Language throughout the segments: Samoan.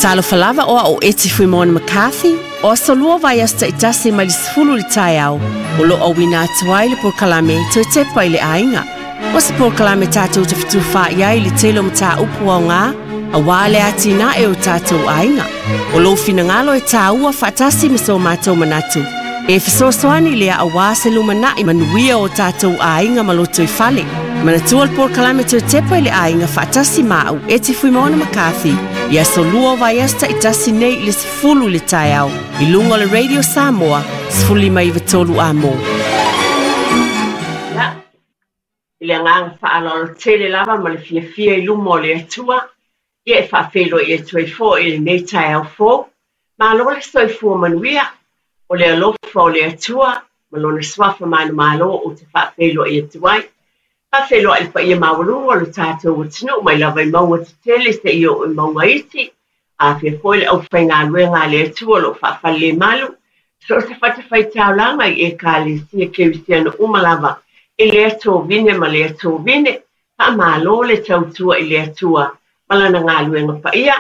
Talofa lava o au o Eti Fuimaono McCarthy, o aso lua vaiaso taitasi mai le 10 i le taeao, o lo o auina atu ai le polokalame Toe Tepa i le Aiga. O se polokalame tatou te fetufaai ai i le tele o mataupu aoga aua le atinae o tatou aiga. O lou finagalo e tāua faatasi ma so matou manatu e fesoasoani lea aua se lumanai manuia o tatou aiga ma lotoifale. Manatua le polokalame Toe Tepa i le Aiga faatasi ma au Eti Fuimaono McCarthy i aso lua o vaiaso taitasi nei i le 10 i le taeao i luga o le Radio Samoa 15 93 Amo. Ia, i le agaga faaaloalo tele lava ma le fiafia i luma o le Atua, ia e faafeiloai atu ai foi i lenei taeao fou. Malo le soifua manuia, o le alofa o le Atua ma lona suafa manumalo ou te faafeiloai atu ai. Faafeiloai i le paia maualuga o le tatou atunuu mai lava i mauga tetele seia oo i mauga iti, afia foi le aufaigaluega a le Atua o lo o faafalelemalu, so o se fatafaitaulaga i Ekalesia Kerisiano uma lava i lea tovine ma lea tovine. Faamalo le tautua i le Atua ma lana galuega paia.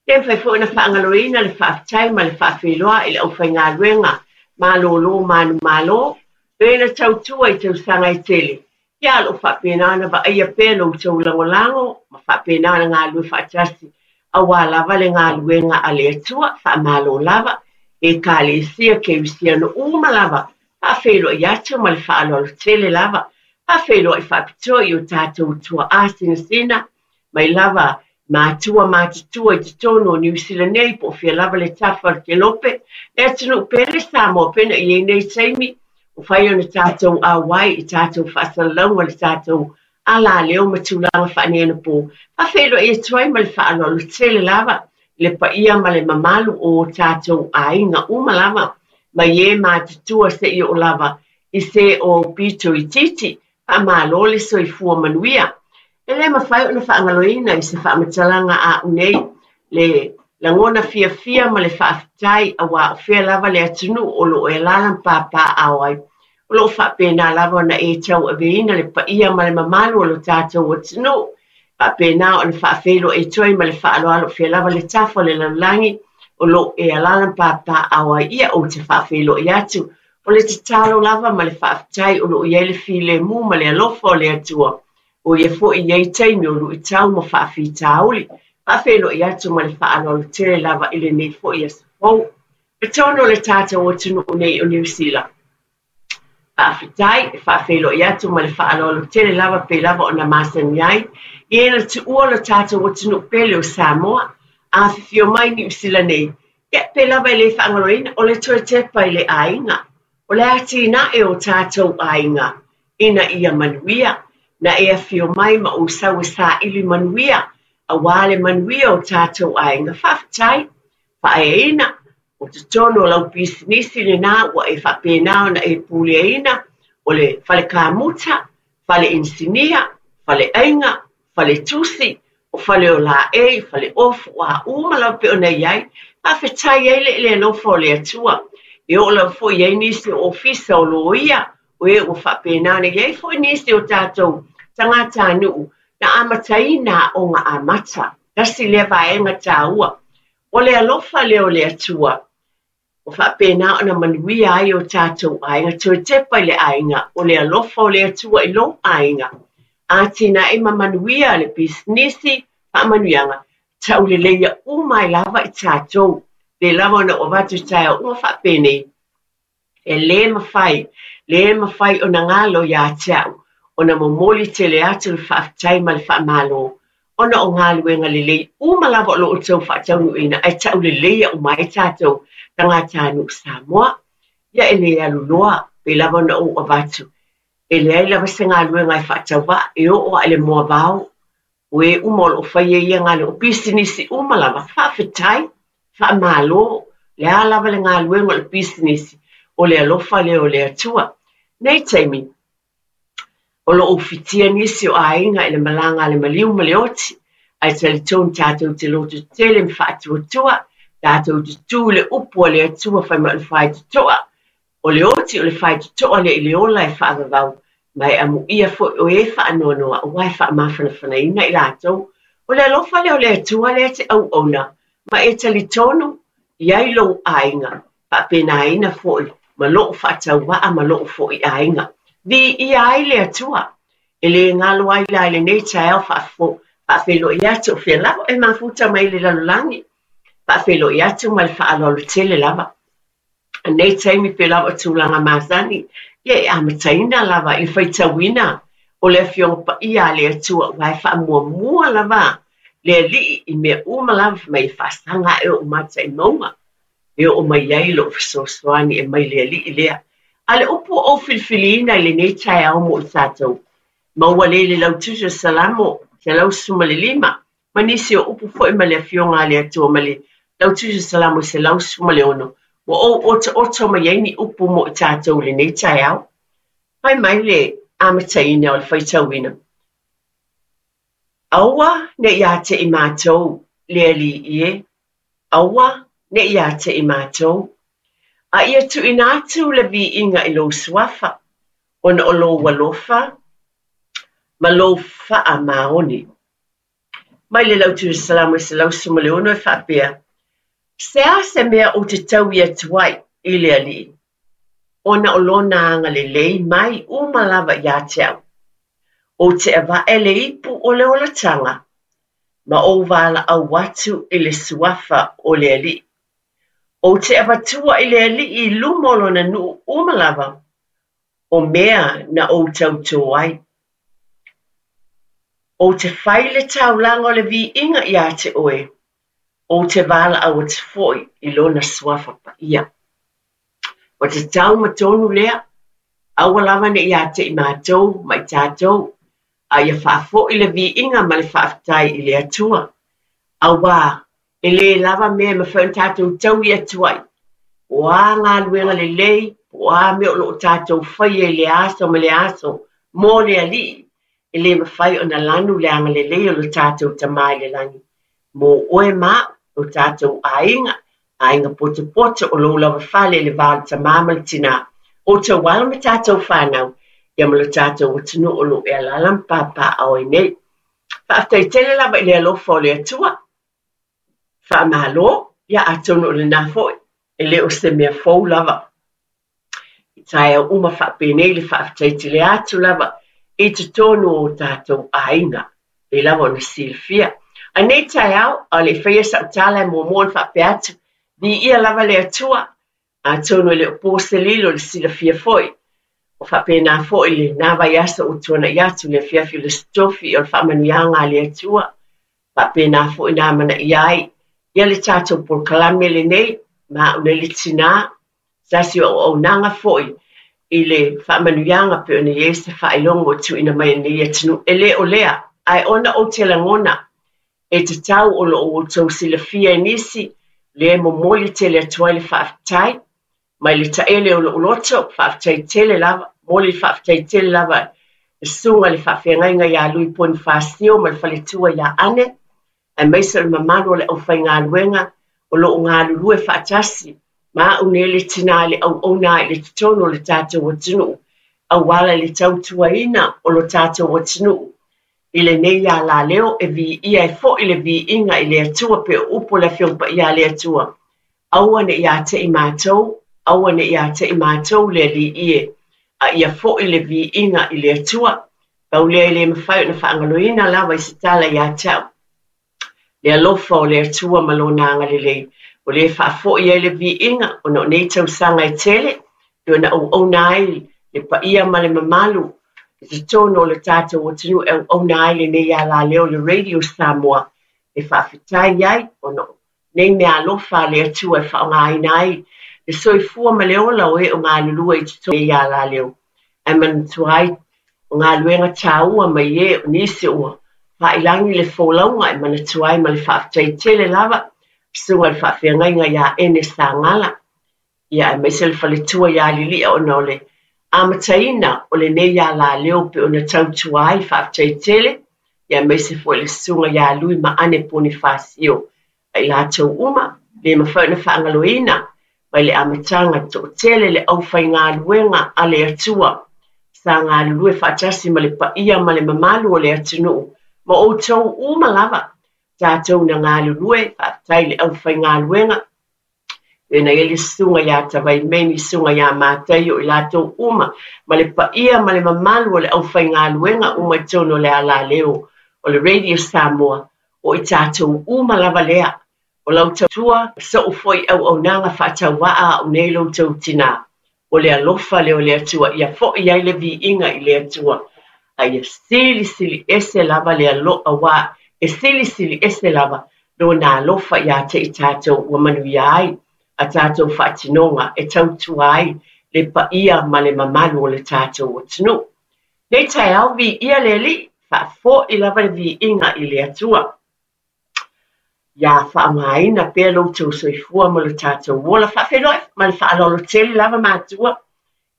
E le mafai foi ona faagaloina le faafetai ma le faafeiloai i le aufaigaluega malolo manumalo, e na tautua i tausaga e tele. Ia o lo o faapena ona vaaia pea lo outou lagolago ma faapena ona galulue faatasi aua lava le galuega a le Atua. Faamalo lava Ekalesia Kerisiano uma lava. Faafeiloai atu ma le faaaloalo tele lava. Faafeiloai faapitoa i o tatou tuaa sinasina mai lava matua matutua i totonu o Niu Sila nei po o fea lava le tafa o le kelope, le atunuu pele Samoa pena i ai nei taimi ua fai ona tatou auai i tatou faasalalauga le tatou alaleo ma tulaga faaneionapo. Faafeiloai atu ai ma le faaaloalo tele lava i le paia ma le mamalu o tatou aiga uma lava mai e matutua seia oo lava i se o aupito itiiti. Faamalo le soifua manuia. E le mafai ona faagaloina i se faamatalaga a au nei le lagona fiafia ma le faafetai aua o fea lava le atunuu o lo o e alaala ma papaaao ai. O lo o faapena lava ona e tauaveina le paia ma le mamalu o lo tatou atunuu. Faapena ona faafeiloai atu ai ma le faaaloalo o fea lava le tafa o le lalolagi o lo o e alaala ma papaaao ai. Ia, ou te faafeiloai atu. O le tatalo lava ma le faafetai o lo o i ai le filemu ma le alofa o le Atua. O ia foi i ai taimi o luitau ma faafitauli. Faafeiloai atu ma le faaaloalo tele lava i lenei foi aso fou. I totonu o le tatou atunuu nei o Niu Sila. Faafetai, e faafeiloai atu ma le faaaloalo tele lava pei lava ona masani ai i e na tuua lo tatou atunuu pele o Samoa. Afifio mai Niu Sila nei, ia pei lava e le faagaloina o le toe tepa i le aiga. O le atinae o tatou aiga ina ia manuia, na e afio mai ma ou sau e saili manuia, aua le manuia o tatou aiga. Faafetai, faaeaina, o totonu o lau pisinisi lena ua e faapena ona e puleaina, o le fale kamuta, fale inisinia, fale aiga, fale tusi, o fale o laei, fale ofu, o a uma lava pei ona i ai. Faafetai ai le alofa o le Atua. E oo lava foi i ai nisi o ofisa o loia, o e ua faapena ona i ai foi nisi o tatou tagatanuu na amataina aoga amata. Tasi lea vaega taua. O le alofa lea o le Atua, ua faapena ona manuia ai o tatou aiga. Toe tepa i le aiga, o le alofa o le Atua i lou aiga. Atinae ma manuia le pisinisi, faamanuiaga, tauleleia uma ai lava i tatou. Pei lava ona ou avatu i taeao uma faapenei, e le mafai, le mafai ona galo ia te au, ona momoli tele atu le faafetai ma le faamalo, ona o galuega lelei uma lava o lo o outou faataunuuina, ae tauleleia uma ai tatou tagatanuu Samoa. Ia e le alu loa, pei lava ona ou avatu, e leai lava se galuega e faatauvaa, e oo lava i le moavao, o e uma o lo o faia ia galuega, o pisinisi uma lava, faafetai, faamalo, le a lava le galuega o le pisinisi, o le alofa lea o le Atua. Nei taimi, o lo o ufitia nisi o aiga i le malaga a le maliu ma le oti, ae talitonu tatou te lototetele ma faatuatua, tatou te tu i le upu a le Atua fai mai o le faitotoa, o le oti o le faitotoa lea i le ola e faavavau, ma e amuia foi o e faanoanoa aua e faamafanafanaina i latou. O le alofa lea o le Atua lea te auauna, Ma e talitonu i ai lou aiga, faapenaina foi ma lo'u faatauvaa ma lo'u foi aiga. Viia ai le Atua! E le galo ai la i lenei taeao faafeiloai atu o fea lava e mafuta mai i le lalolagi, faafeiloai atu ma le faaaloalo tele lava. I lenei taimi pei lava o tulaga masani, ia e amataina lava i le faitauina o le Afioga Paia a le Atua, aua e faamuamua lava le Alii i mea uma lava, fai mai e faasaga ae ou mata i mauga e oo mai ai lou fesoasoani e mai le Alii lea. A o le upu ua ou filifiliina i lenei taeao mo i tatou, maua lea i le Lautusi o Salamo 115, ma nisi o upu foi ma le Afioga a le Atua ma le Lautusi o Salamo 116, ua ou otooto mai ai ni upu mo i tatou i lenei taeao. Fai mai le amataina o le faitauina, Aua ne i ia te i matou le Alii e, aua ne i ia te i matou, a ia tuuina atu le viiga i lou suafa, ona o lou alofa ma lou faamaoni. Mai le Lautusi o Salamo 116 e faapea, Se a se mea ou te taui atu ai i le Alii, ona o lona agalelei mai uma lava ia te au. Ou te ava'e le ipu o le olataga, ma ou valaau atu i le suafa o le Alii. Ou te avatua i le Alii i luma o lona nuu uma lava, o mea na ou tautō ai. Ou te fai le taulaga o le viiga ia te oe, ou te valaau atu foi i lona suafa paia. Ua tatau ma tonu lea, aua lava ne i ia te i matou ma i tatou, a ia faafoi le viiga ma le faafetai i le Atua. Aua e le lava mea e mafai ona tatou taui atu ai, po o a galuega lelei, po o a mea o lo o tatou faia i le aso ma le aso mo le Alii, e le mafai ona lanu le agalelei o lo tatou Tama i le lagi mo oe ma au, lo tatou aiga, aiga potopoto o lou lava fale i le va o le tama ma le tinā, outou alo ma tatou fanau, ia ma lo tatou atunuu o lo o e alaala ma papaaao ai nei. Faafetai tele lava i le alofa o le Atua. Faamalo, ia atonu o lena foi, e le o se mea fou lava. I taeao uma faapenei le faafetai tele atu lava i totonu o tatou aiga, pei lava ona silafia. A i nei taeao, a o le i faia sau tala e muamua ona faapea atu, viia lava le Atua, atonu e le o po se lilo i le silafia foi, o faapena foi lena vaiaso ua tuanai atu le afiafi o le Aso Tofi o le faamanuiaga a le Atua, faapena foi na amanaia ai ia le tatou polokalame lenei, ma au nei le tinā, tasi o auaunaga foi i le faamanuiaga pei ona i ai se faailoga ua tuuina mai e lenei atunuu. E le o lea, ae ona ou te lagona e tatau o lo o outou silafia e nisi, lea e momoli tele atu ai le faafetai mai le taele o lou loto, faafetai tele lava, momoli le faafetai tele lava i le susuga i le faafeagaiga ia Lui Ponifasio ma le faletua ia Ane, aemaise o le mamalu o le aufaigaluega o lo o galulue faatasi ma au nei le tinā i le auauna i le totonu o le tatou atunuu, auala i le tautuaina o lo tatou atunuu i lenei alaleo e viia ai foi le viiga i le Atua pei o upu o le Afioga Paia a le Atua. Aua ne i ia te i matou, aua ne i ia te i matou le Alii e, a ia foi le viiga i le Atua. Pau lea e le mafai ona faagaloina lava i se tala ia te au, le alofa o le Atua ma Lona agalelei, o lea e faafoi ai le viiga ona o nei tausaga e tele, pei ona auauna ai le paia ma le mamalu i totonu o le tatou atunuu e auauna ai lenei alaleo le Radio Samoa e faafetai ai ona o nei meaalofa a le Atua e faaaogaina ai le soifua ma le ola o e o galulue i totonu o lenei alaleo, ae manatua ai o galuega taua mai e o nisi ua faailagi le folauga e manatua ai ma le faafetai tele lava susuga i le faafeagaiga ia Ene Sagala ia aemaise le faletua ia Lili'a ona o le amataina o lenei alaleo pei ona tautua ai faafetai tele ia aemaise foi le susuga ia Lui ma Ane Ponifasio a i latou uma le mafai ona faagaloina mai le amataga toatele le aufaigaluega a le Atua sa galulue faatasi ma le paia ma le mamalu o le atunuu ma outou uma lava tatou na galulue. Faafetai. Faafetai i le aufaigaluega, pei ona i ai le susuga ia Tavaimeni, susuga ia Mataio, i latou uma, ma le paia ma le mamalu o le aufaigaluega uma i totonu o le alaleo o le Radio Samoa, o i tatou uma lava lea. O lau tautua, so'u foi auaunaga faatauvaa a au nei lo outou tinā, o le alofa lea o le Atua, ia fo'i ai le viiga i le Atua, a ia silisili ese lava le alo, auā e silisili ese lava Lona alofa ia te i tatou ua manuia ai a tatou faatinoga e tautua ai le paia ma le mamalu o le tatou atunuu. Nei taeao, viia le Alii, faafo'i lava le viiga i le Atua. Ia faaaogaina pea lo outou soifua ma lo tatou ola. Faafeiloai ma le faaaloalo tele lava matua.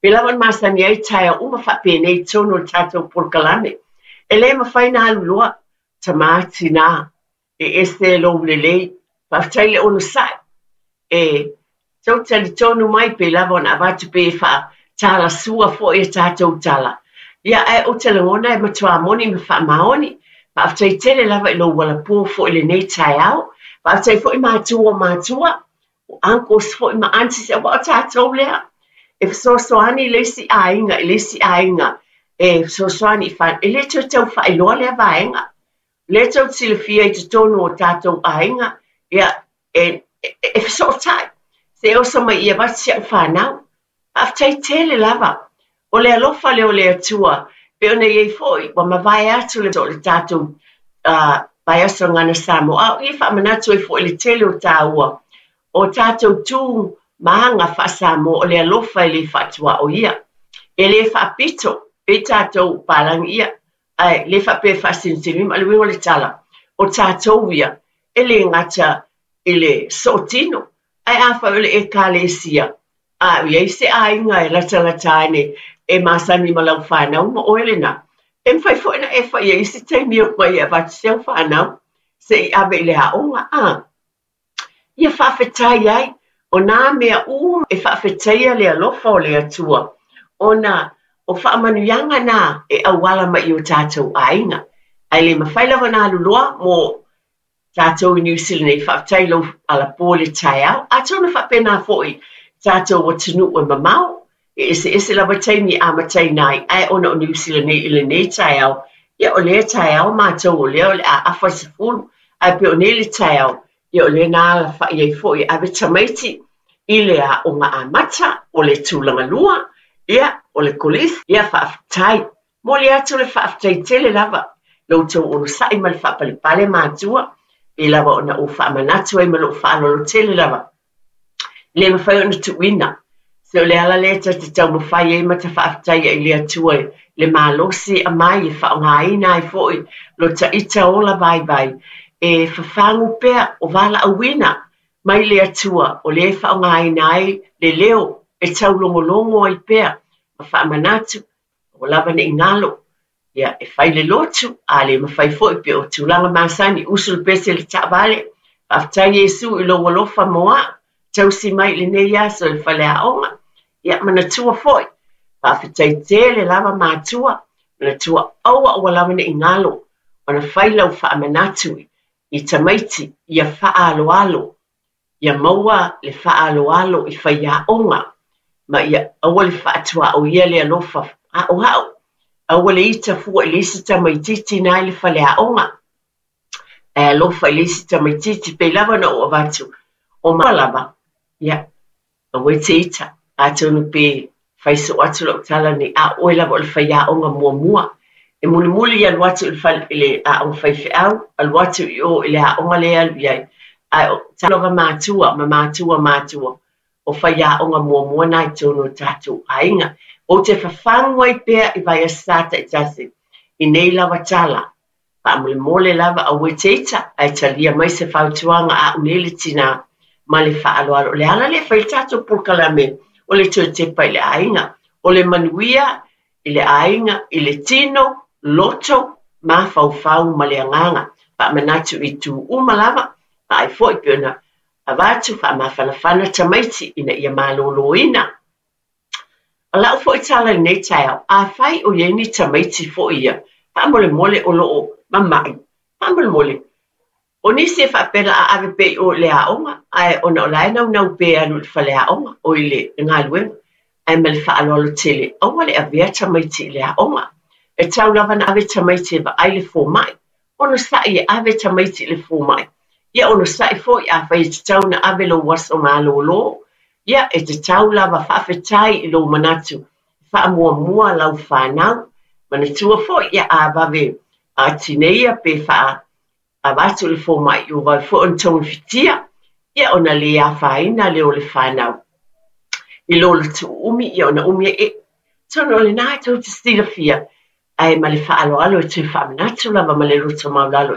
Pei lava ona masani ai taeao uma faapenei i totonu o le tatou polokalame. E le mafai ona alu loa, tama tinā, e ese lou lelei. Faafetai le onosai. E tou talitonu mai pei lava ona avatu pe faatalasua foi a tatou tala. Ia, ae ou te lagona e matua moni ma faamaoni. Faafetai tele lava i lou alapō foi i lenei taeao. Faafetai foi matua o matua, o uncles foi ma aunties, aua o tatou lea e fesoasoani i le isi aiga i le isi aiga e fesoasoani i whanau. E le toe tau faailoa lea vaega. Lea tou te silafia i totonu o tatou aiga, ia, e, e fesootai, se oso mai i avatu si au fanau. Faafetai tele lava. O le alofa lea o le Atua, pei ona i ai foi, ua mavae atu le, le tatou uh, vaiaso Gagana Samoa, a o i e faamanatu ai foi le tele o tāua, o tatou tu ma aga faa-Samoa, o le alofa e le faatuaoia. E le faapito, pei tatou palagi ia, ae le faapea e faasinisinima. O le uiga o le tala, o tatou ia, e le gata i le sootino, ae afai o le Ekalesia, a i ai se aiga e latalata ane e masani ma lau fanau ma oe lena, e mafai foi ona e fai i ai isi taimi e omai e avatu si au fanau se i ave i le aoga, a. Ia faafetai ai, o nā mea uma e faafetaia le alofa o le Atua, ona o faamanuiaga nā e auala mai i o tātou aiga. Ae le mafai lava ona alu loa mo tātou i Niu Sila nei, faafetai i lou alapō i le taeao. Atonu e faapena foi tātou atunuu e mamao, e eseese lava taimi e amataina ai, ae ona o Niu Sila nei i lenei taeao, ia o lea taeao matou o lea o le a afa i le 10, ae pei o nei le taeao, ia o lea na alafa'i ai foi e ave tamaiti i le aoga amata, o le tulaga lua, ia o le kolisi, ia faafetai. Momoli atu le faafetai tele lava i lo outou onosai ma le faapalepale matua, pei lava ona ou faamanatu ai ma lou faaaloalo tele lava. E le mafai ona tuuina. Se o le ala lea ta te taumafai ai ma ta faafetaia i le Atua i le malosi e aumai e faaaogaina ai foi lo ta ita ola vaivai e fafagu pea o valaauina mai le Atua o lea e faaaogaina ai le leo e taulogologo ai pea ma faamanatu Aua lava ne i galo, ia, e fai le lotu, a le mafai foi pei o tulaga masani, usu le pese i le taavale, faafetai Iesu i lou alofa mo a'u, tausi mai i lenei aso i le faleaoga, ia, manatua foi, faafetai tele lava matua, manatua aua aua lava ne i galo ona fai lau faamanatu i tamaiti ia faaaloalo Ia maua le faaaloalo i faiaoga, ma ia aua le faatuaoia le alofa haʻohaʻo. Aua le ita fua i le isi tamaitiiti na i le faleaoga, ae alofa i le isi tamaitiiti. Pei lava ona ou avatu, o maua lava, ia, aua e te ita, atonu pe fai soo atu lau tala nei, a o oe lava o le faiaoga muamua. E mulimuli alu atu i le fale, i le aoga faifeau, alu atu i o i le aoga lea e alu i ai. Ae o tatou lava matua ma matua matua, o faiaoga muamua na i totonu o tatou aiga. Ou te fafagu ai pea i Vaiaso Sa taitasi i nei lava tala, Faamolemole lava aua e te ita, ae talia mai se fautuaga a au nei le tinā ma le faaaloalo. O le ala lea e fai le tatou polokalame o le toe tepa i le aiga, o le manuia i le aiga, i le tino, loto, mafaufau ma le agaga. Faamanatu i itu uma lava, vaai foi pei ona avatu faamafanafana tamaiti ina ia maloloina. O lau foi tala i lenei taeao, afai o i ai ni tamaiti foi ia, faamolemole o lo o mama'i, faamolemole, O nisi e faapea o le a ave pea i o i le aoga, ae ona o la e naunau pea e alu i le faleaoga, oi le galuega. Ae ma le faaaloalo tele, aua le avea tamaiti i le aoga. E tatau lava ona ave tamaiti e vaai le fomai. Onosai e ave tamaiti i le fomai. Ia onosai foi afai e tatau ona ave lou aso malolo, ia e tatau lava. Faafetai i lou manatu e faamuamua lau fanau. Manatua foi, ia a vave tineia pe faa avatu i le fomai, ua vave foi ona togafitia, ia ona le afaina lea o le fanau i lo le tuuumi, ia ona umi ai. Atonu o lena tou te silafia, ae ma le faaaloalo e toe faamanatu lava ma le loto maualalo.